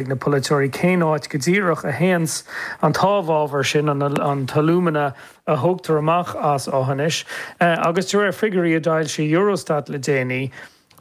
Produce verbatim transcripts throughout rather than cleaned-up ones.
ag na polaiteoirí cén áit go díreach a théanns an t-amhábhar sin, an t-alúmana a thógtar amach as Aughinish. Agus de réir figiúirí a d'fhoilsigh Eurostat le déanaí,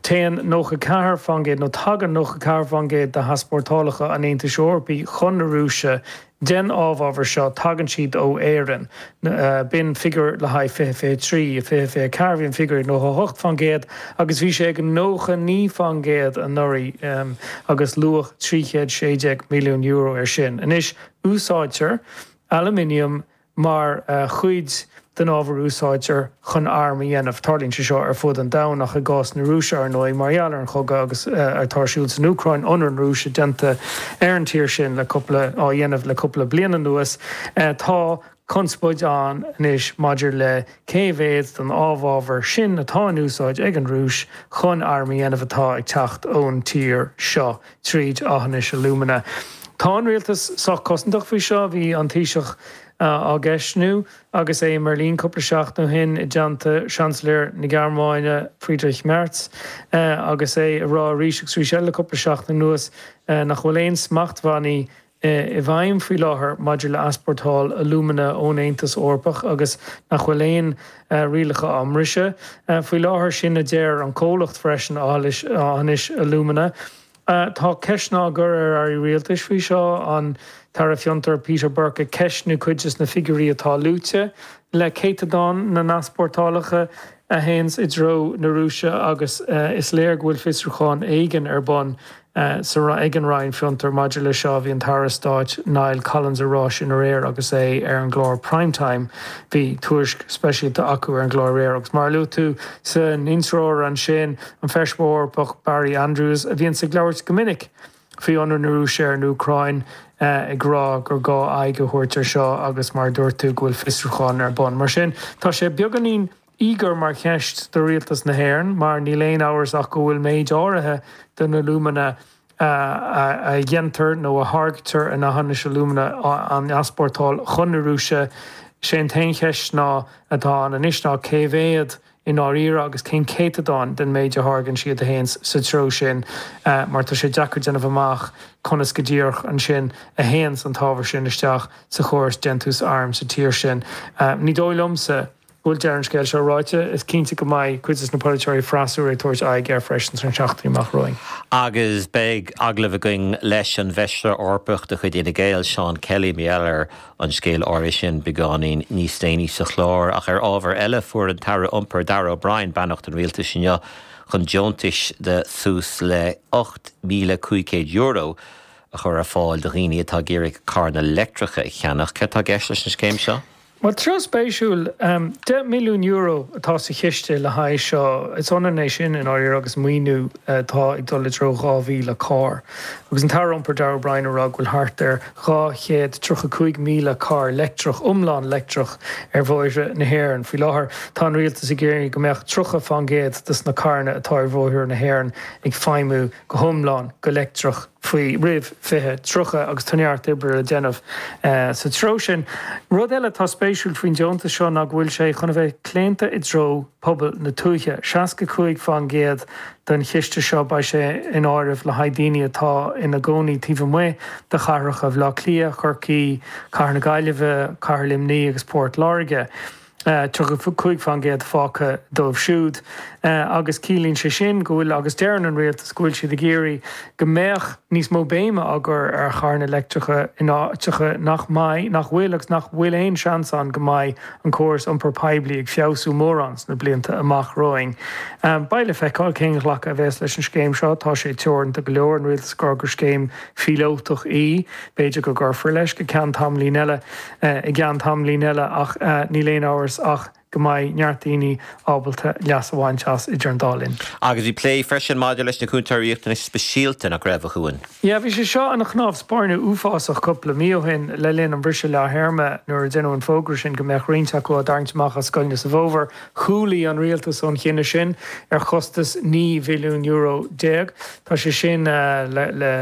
téann nócha ceathair faoin gcéad, nó tagann nócha ceathair faoin gcéad de heaspórtálacha an Aontais Eorpaigh chun na Rúise den amhábhar seo, tagann siad ó Éirinn. B'in figiúr le haghaidh fiche fiche trí. I fiche fiche ceathair bhí an figiúr ag nócha hocht faoin gcéad agus bhí sé ag nócha naoi faoin gcéad anuraidh agus luach trí chéad sé déag milliún euro air sin. Anois, úsáidtear aluminium mar chuid den ábhar a úsáidtear chun airm a dhéanamh. Tarlaíonn sé seo ar fud an domhain ach i gcás na Rúise, ar ndóigh, mar gheall ar an chogadh agus atá ar siúl san Úcráin, ionradh na Rúise déanta ar an tír sin le cúpla, á dhéanamh le cúpla bliain anuas, tá conspóid ann anois maidir le cé mhéad den amhábhar sin atá in úsáid ag an Rúis chun airm a dhéanamh atá ag teacht ón tír seo tríd Aughinish Alumina. Tá an rialtas sách cosantach faoi seo. Bhí an Taoiseach á gceistniú agus é i mBeirlín cúpla seachtain ó shin i dteannta Seansailéir na Gearmáine Friedrich Merz agus é ag rá arís agus arís eile le cúpla seachtain anuas nach bhfuil aon smachtbhannaí i bhfeidhm faoi láthair maidir le easpórtáil alúmana ón Aontas Eorpach agus nach bhfuil aon rialacha á mbriseadh faoi láthair. Sin a deir an comhlacht freisin, Aughinish Alumina. Tá ceisteanna á gcur ar airí rialtais faoi seo, an tAire Fiontar Peter Burke ag ceistniú cuid de na figiúirí atá luaite le céatadán na n-easpórtálacha a théanns i dtreo na Rúise agus is léir go bhfuil fiosrúchán éigin ar bun ag an Roinn Fiontar maidir leis seo. Bhí an tAire Stáit Niall Collins ag rá sin aréir agus é ar an gclár Prime Time. Bhí tuairisc speisialta acu ar an gclár aréir agus mar a luaigh tú san intreoir ansin, an Feisire Eorpach Barry Andrews, a bhíonns ag labhairt go minic faoi ionradh na Rúise ar an Úcráin, ag rá gur gá aghaidh a thabhairt ar seo agus mar a dúirt tú go bhfuil fiosrúchán ar bun. Mar sin, tá sé beagáinín íogair mar cheist do rialtas na hÉireann mar níl aon amhras ach go bhfuil méid áirithe den alúmana a dhéantar nó a tháirgtear in Aughinish Alumina á easpórtáil chun na Rúise. Sé an t-aon cheist ná atá ann anois ná cé mhéad i ndáiríre agus cén céatadán den méid a tháirgeann siad a théann sa treo sin mar tá sé deacair déanamh amach conas go díreach ansin a théanns an t-ábhar sin isteach sa chóras déantús arm sa tír sin. Ní dóigh liomsa go bhfuil deireadh an scéil seo ráite. Is cinnte go mbeidh cuid de na polaiteoirí freasúra ag tabhairt aghaidh air freisin sna seachtainí amach romhainn. Agus beidh agallamh againn leis an bhFeisire Eorpach de chuid Fhine Gael, Seán Kelly, mar gheall ar an scéal áirithe sin beagáinín níos déanaí sa chlár. Ach ar ábhar eile, fuair an tAire Iompair Darragh O'Brien beannacht an Rialtais inniu chun deontais de suas le ocht míle cúig chéad euro a chur ar fáil do dhaoine atá ag iarraidh carranna leictreacha a cheannach. Céard atá i gceist leis an scéim seo? Bhuel, treo spéisiúil. Deich milliún euro atá sa chiste le haghaidh seo. Is ionann é sin i ndáiríre agus maoiniú atá ag dul i dtreo dhá mhíle carr. Agus an tAire Iompair Darragh O'Brien ag rá go bhfuil thart ar dhá chéad tríocha cúig míle carr leictreach, iomlán leictreach, ar bhóithre na hÉireann faoi láthair. Tá an rialtas ag iarraidh go mbeadh tríocha fán gcéad de na carranna atá ar bhóithre na hÉireann ag feidhmiú go hiomlán go leictreach. faoi roimh fiche tríocha agus tá neart oibre le déanamh sa treo sin. Rud eile atá spéisiúil faoin deontas seo ná go bhfuil sé chun a bheith claonta i dtreo pobal na tuaithe. seasca cúig fán gcéad den chiste seo beidh sé in áireamh le haghaidh daoine atá ina gcónaí taobh amuigh de chathracha Bhaile Átha Cliath, Chorcaí, Cathair na Gaillimhe, Cathair Luimnigh agus Port Láirge. tríocha cúig fán gcéad fágtha dóibh siúd agus ciallaíonn sé sin go bhfuil, agus deireann an rialtas go bhfuil siad ag iarraidh go mbeadh níos mó béime á gcur ar charranna leictreacha in áiteacha nach mbeidh, nach bhfuil agus nach bhfuil aon seans ann go mbeidh an córas iompair poiblí ag feabhsú mórán sna blianta amach romhainn. Beidh le feiceáil cén ghlacadh a bheas leis an scéim seo. Tá sé teoranta go leor, an rialtas ag rá gur scéim phíolótach í. B'fhéidir go gcuirfear leis go ceann tamaillín eile, i gceann tamaillín eile ach níl aon amhras ach go mbeidh neart daoine ábalta leas a bhaint as idir an dá linn. Agus bhí plé freisin maidir leis na Cúntóirí Riachtanais Speisialta, nach raibh, a Chuain? Yeah, bhí sé seo ina chnámh spairne uafásach cúpla mí ó shin le linn an bhriseadh leath-théarma nuair a deineadh an fógra sin go mbeadh roinnt acu á dtarraingt amach as scoileanna sa bhfómhar. Chúlaigh an rialtas ón chinneadh sin ar chostas naoi bhilliún euro déag. Tá sé sin le, le,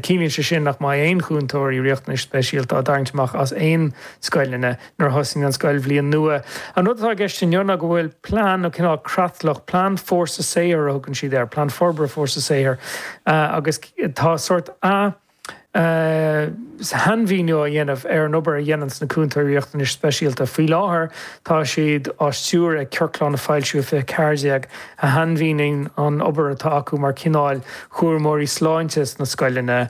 ciallaíonn sé sin nach mbeidh aon chúntóirí riachtanais speisialta á dtarraingt amach as aon scoileanna nuair a thosaíonn an scoilbhliain nua. An rud atá i gceist inniu ná go bhfuil plean nó cineál creatlach, plean fórsa saothair a thugann siad air, plean forbartha fórsa saothair, agus tá sórt ath, Sainmhíniú a dhéanamh ar an obair a dhéananns na cúntóirí riachtanais speisialta. Faoi láthair tá siad á stiúradh ag ciorclán a foilsíodh i fiche ceathair déag a shainmhíníonn an obair atá acu mar chineál cúramóirí sláinte sna scoileanna.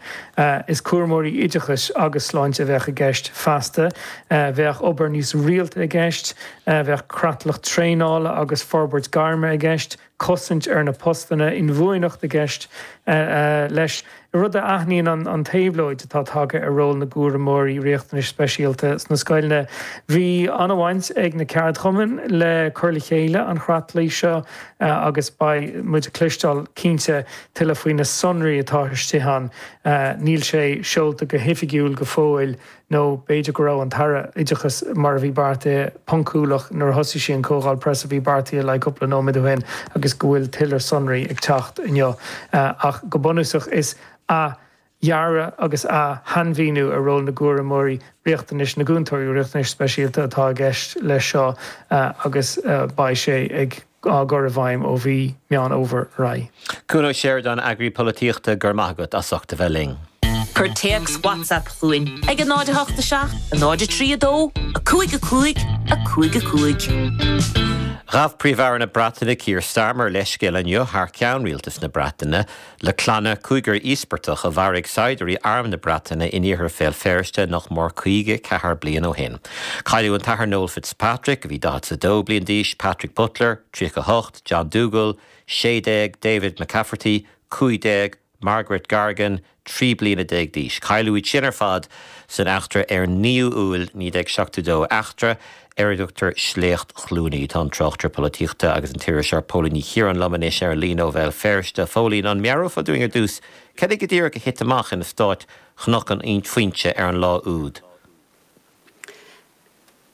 Is cúramóirí oideachais agus sláinte a bheadh i gceist feasta. Bheadh obair níos rialta i gceist, bheadh creatlach traenála agus forbairt gairme i gceist, cosaint ar na postanna, inbhuanaitheacht i gceist leis, rud a aithníonn an t-éabhlóid atá tagtha ar ról na gcúramóirí riachtanais speisialta sna scoileanna. Bhí an-bhaint ag na ceardchumainn le cur le chéile an chreatlaigh seo agus beidh muid ag cloisteáil cinnte tuilleadh faoi na sonraí atá istigh ann. Níl sé seolta go hoifigiúil go fóill. nó b'fhéidir go raibh an tAire Oideachais, mar a bhí beartaithe, poncúlach nuair a thosaigh sí an comhdháil preasa a bhí beartaithe le cúpla nóiméad ó shin agus go bhfuil tuilleadh sonraí ag teacht inniu. Ach go bunúsach is athdhearadh agus ath-shainmhíniú ar ról na gcúramóirí riachtanais, na gcúntóirí riachtanais speisialta atá i gceist leis seo agus beidh sé ag á gcur i bhfeidhm ó mhí Meán Fhómhair ar aghaidh. Cuan Ó Seireadáin, Eagraí Polaitíochta, go raibh maith agat as ucht a bheith linn. Cuir téacs WhatsApp chugainn ag a náid a hocht a seacht, a náid a trí a dó, a cúig a cúig, a cúig a cúig. Ghabh Príomh-Aire na Breataine Keir Starmer leithscéal inniu thar ceann rialtas na Breataine le clanna cúigear íospartach a mharaigh saighdiúirí Arm na Breataine in iarthar Bhéal Feirste nach mór caoga ceathair bliain ó shin. Cailleadh an tAthair Noel Fitzpatrick, a bhí daichead is a dó bliain d'aois, Patrick Butler, tríocha a hocht, John Dougal, sé déag, David McCafferty, cúig déag, Margaret Gargan, trí bliana déag d'aois. Cailleadh iad sin ar fad san eachtra ar naoú Iúil naoi déag seachtó dó, eachtra ar a dtugtar Sléacht Chluanaí. Tá an tráchtaire polaitíochta agus an t-iriseoir Póilín Ní Chiaráin liom anois ar an líne ó Bhéal Feirste. A Phóilín, an meabhrófá dúinn ar dtús cad é go díreach a thit amach in eastát Chnoc an Phointe ar an lá úd?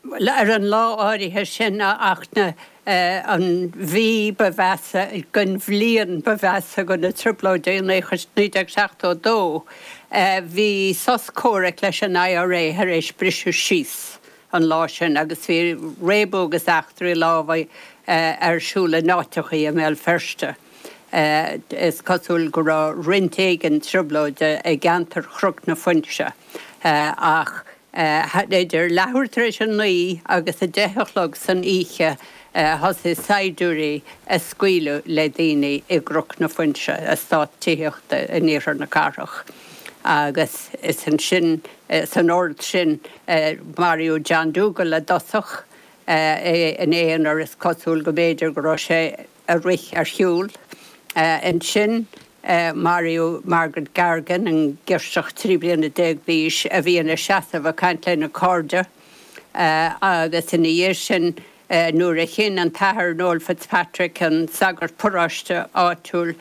Bhuel, ar an lá áirithe sin, a Fhachtna, an mhí ba mheasa den bhliain ba mheasa de na Trioblóidí, naoi déag seachtó dó, bhí sos comhraic leis an I R A tar éis briseadh síos an lá sin agus bhí réabadh agus eachtraí lámhaigh ar siúl in áiteachaí i mBéal Feirste. Is cosúil go raibh roinnt éigin trioblóide i gceantar Chnoc na Foinse ach idir leathuair tar éis a naoi agus a deich a chlog san oíche thosaigh saighdiúirí ag scaoileadh le daoine i gCnoc na Foinse, eastát tithíochta in iarthar na cathrach. Agus is ansin, san ord sin, maraíodh John Dougal i dtosach, é ina aonar, is cosúil go mb'fhéidir go raibh sé ag rith ar shiúl. Ansin maraíodh Margaret Gargan, an girseach trí bliana déag d'aois a bhí ina seasamh ag caint lena cairde, agus ina dhiaidh sin nuair a chinn an tAthair Noel Fitzpatrick, an sagart paróiste áitiúil,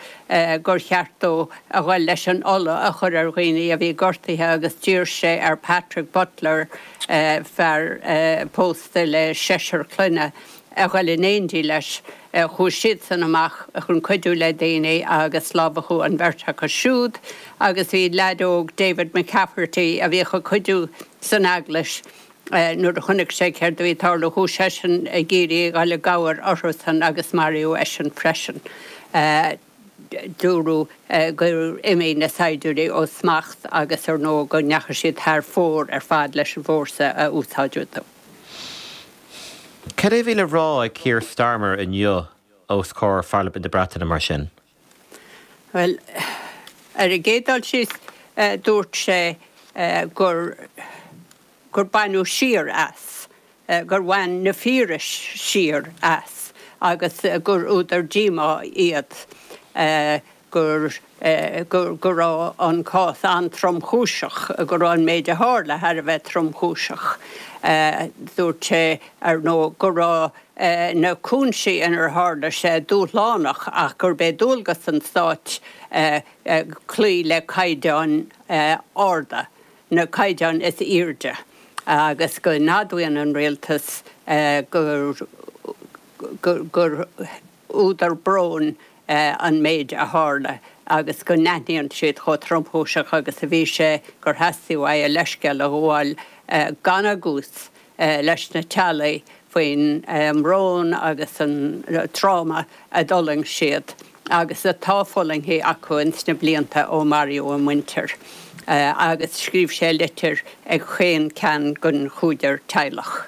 gur cheart dó a ghoil leis an ola a chur ar dhaoine a bhí gortaithe agus d'iarr sé ar Patrick Butler, fear pósta le seisear clainne, a ghoil in éindí leis. Chuaigh siadsan amach chun cuidiú le daoine agus lámhachadh an bheirt acu siúd agus bhí leaid óg, David McCafferty, a bhíodh ag cuidiú san eaglais, nuair a chonaic sé céard a bhí ag tarlú, chuaigh seisean ag iarraidh a ghoil i gcabhair orthusan agus maraíodh eisean freisin. Dúradh gur imigh na saighdiúirí ó smacht agus ar ndóigh go ndeachaigh siad thar fóir ar fad leis an bhfórsa a úsáideadh. Cad é a bhí le rá ag Keir Starmer inniu os comhair Pharlaimint na Breataine mar sin? Bhuel, ar an gcéad dul síos, dúirt sé gur gur baineadh siar as, gur bhain na fíorais siar as agus gur údar díomá iad. gur go raibh an cás an-tromchúiseach, go raibh an méid a tharla thar a bheith tromchúiseach. Dúirt sé, ar ndóigh, go raibh na cúinsí inar tharla sé dúshlánach ach gurb é dualgas an stáit cloí le caighdeáin arda, na caighdeáin is airde, agus go n-admhaíonn an rialtas gur gur údar bróin an méid a tharla agus go n-aithníonn siad chomh tromchúiseach agus a bhí sé gur theastaigh uaidh a leithscéal a ghabháil gan agús leis na teaghlaigh faoin mbrón agus an tráma a d'fhulaing siad agus atá fulaingthe acu ins na blianta ó maraíodh a muintir. Agus scríobh sé litir ag chaon ceann den chúigear teaghlach.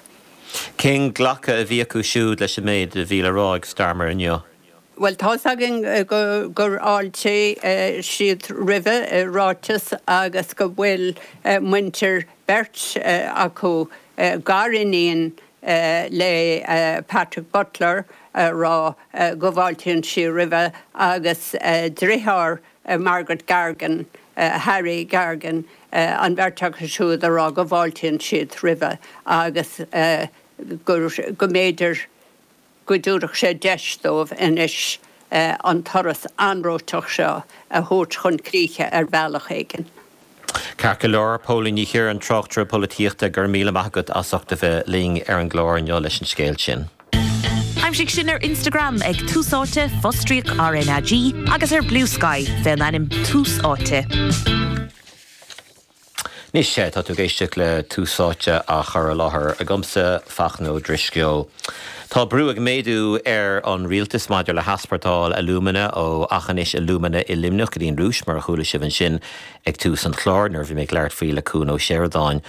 Cén glacadh a bhí acu siúd leis an méid a bhí le rá ag Starmer inniu? Bhuel, tá's againn gur fháiltigh siad roimhe i ráiteas agus go bhfuil muintir beirt acu, gariníon le Patrick Butler, a rá go bhfáiltíonn sí roimhe agus deartháir Margaret Gargan, Harry Gargan, an bheirt acu siúd a rá go bhfáiltíonn siad roimhe agus go mb'fhéidir go dtabharfadh sé deis dóibh anois an turas anróiteach seo a thabhairt chun críche ar bhealach éigin. Ceart go leor, Póilín Ní Chiaráin, tráchtaire polaitíochta, go raibh míle maith agat as ucht a bheith linn ar an gclár inniu leis an scéal sin. Aimsigh sinn ar Instagram ag Tús Áite, fostríoc RnaG agus ar Bluesky fén ainm Tús Áite. Anois, tá tú ag éisteacht le Tús Áite á chur i láthair agamsa, Fachtna Ó Drisceoil. Tá brú ag méadú ar an rialtas maidir le heaspórtáil alúmana ó Aughinish Alumina i Luimneach go dtí an Rúis, mar a chuala sibh ansin ag tús an chláir nuair a bhí mé ag labhairt faoi le Cuan Ó Seireadáin,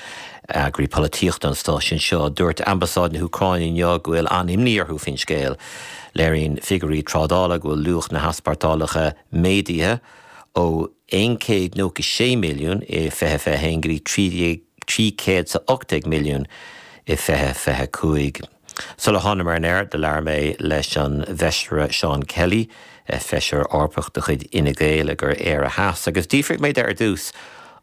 eagraí polaitíochta an stáisiúin seo. Dúirt Ambasáid na hÚcráine inniu go bhfuil an-imní orthu faoin scéal. Léiríonn figiúirí trádála go bhfuil luach na heaspórtálacha méadaithe ó aon chéad nócha sé milliún i fiche fiche haon go dtí trí chéad is a ocht déag milliún i fiche fiche cúig. Sula thánamar ar an aer do labhair mé leis an bhFeisire Seán Kelly, Feisire Eorpach de chuid Fhine Gael i gCuir Éire Theas, agus d'fhiafraigh mé de ar dtús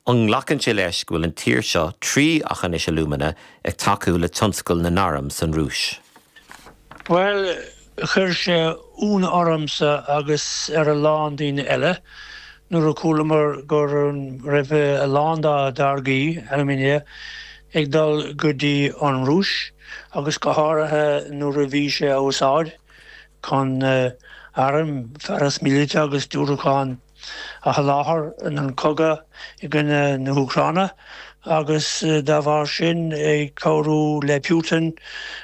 an nglacann sé leis go bhfuil an tír seo, trí Aughinish Alumina, ag tacú le tionscal na n-arm san Rúis. Bhuel, chuir sé ionadh ormsa agus ar a lán daoine eile nuair a chualamar go raibh a lán dá dtáirgí alumina ag dul go dtí an Rúis agus go háirithe nuair a bhí sé á úsáid chun airm, fearas míleata agus diúracáin a sholáthar in an cogadh i gcoinne na hÚcráine agus dá bharr sin ag cabhrú le Putin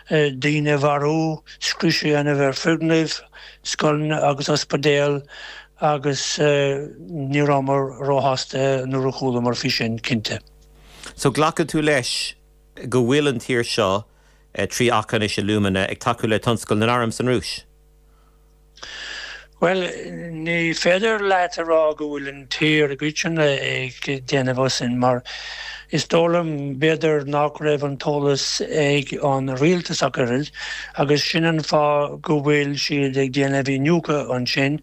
daoine a mharú, scrios a dhéanamh ar foirgnimh, scoileanna agus ospidéil agus ní rabhamar róshásta nuair a chualamar faoi sin, cinnte. So glacann tú leis go bhfuil an tír seo, trí Aughinish Alumina, ag tacú le tionscal na n-arm san Rúis? Bhuel, ní féidir leat a rá go bhfuil an tír i gcoitinne ag déanamh sin mar is dóigh liom b'fhéidir nach raibh an t-eolas ag an rialtas ach oiread agus sin an fáth go bhfuil siad ag déanamh iniúchadh ansin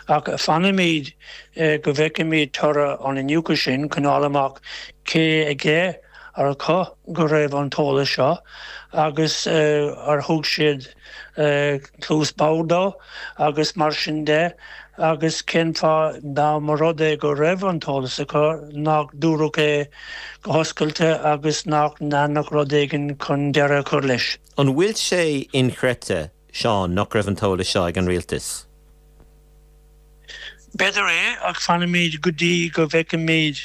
ach fanfaimid go bhfeicfimid toradh an iniúchadh sin chun fháil amach cé aige ar acu go raibh an t-eolas seo agus ar thug siad cluas bhodhar dó agus mar sin de agus cén fáth dá mba rud é go raibh an t-eolas acu nach dúradh é go hoscailte agus nach ndearnadh rud éigin chun deireadh a chur leis. An bhfuil sé inchreidte, Seán, nach raibh an t-eolas seo ag an rialtas? B'fhéidir é, ach fanfaimid go dtí go bhfeicfimid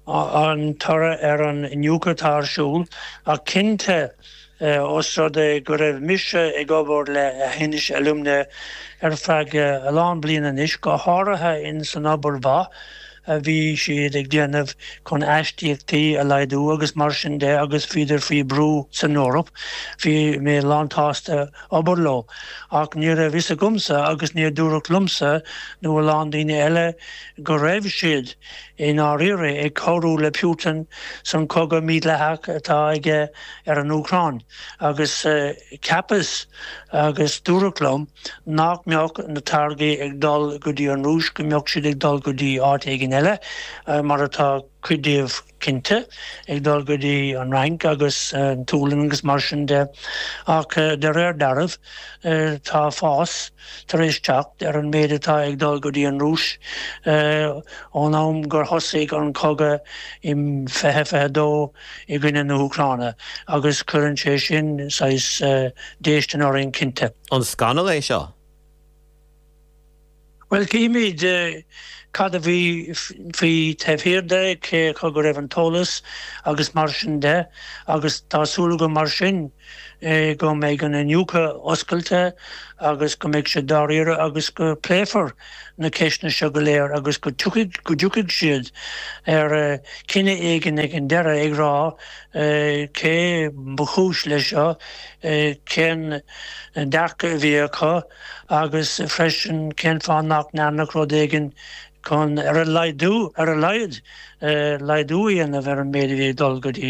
an toradh ar an iniúchadh atá ar siúl. Ach cinnte, ós rud é go raibh mise ag obair le Aughinish Alumina ar feadh a lán bliana anois, go háirithe in san obair mhaith a bhí siad ag déanamh chun aistíochtaí a laghdú agus mar sin de agus bhíodar faoi brú san Eoraip, bhí mé lánsásta obair leo. Ach ní raibh fhios agamsa agus níor dúradh liomsa nó a lán daoine eile go raibh siad i ndáiríre ag cabhrú le Putin san cogadh mídhleathach atá aige ar an Úcráin agus cheapas agus dúradh liom nach mbeadh na táirgí ag dul go dtí an Rúis, go mbeadh siad ag dul go dtí áit éigin eile mar atá cuid díobh cinnte ag dul go dtí an Fhrainc agus an tSualainn agus mar sin de. Ach de réir dealraimh tá fás tar éis teacht ar an méid atá ag dul go dtí an Rúis ón am gur thosaigh an cogadh i fiche fiche dó i gcoinne na hÚcráine agus cuireann sé sin saghas déistin orainn cinnte. An scannal é seo? Bhuel, címid cad a bhí faoi taobh thiar de, cé acu go raibh an t-eolas agus mar sin de agus tá súil agam mar sin go mbeidh an iniúchadh oscailte agus go mbeidh sé dáiríre agus go pléifear na ceisteanna seo go léir agus go dtiocfaidh go dtiocfaidh siad ar chinneadh éigin ag an deireadh ag rá cé ba chúis leis seo, cén dearcadh a bhí acu agus freisin cén fáth nach ndearnadh rud éigin chun ar a laghdú ar a laghad laghdú a dhéanamh ar an méid a bhí ag dul go dtí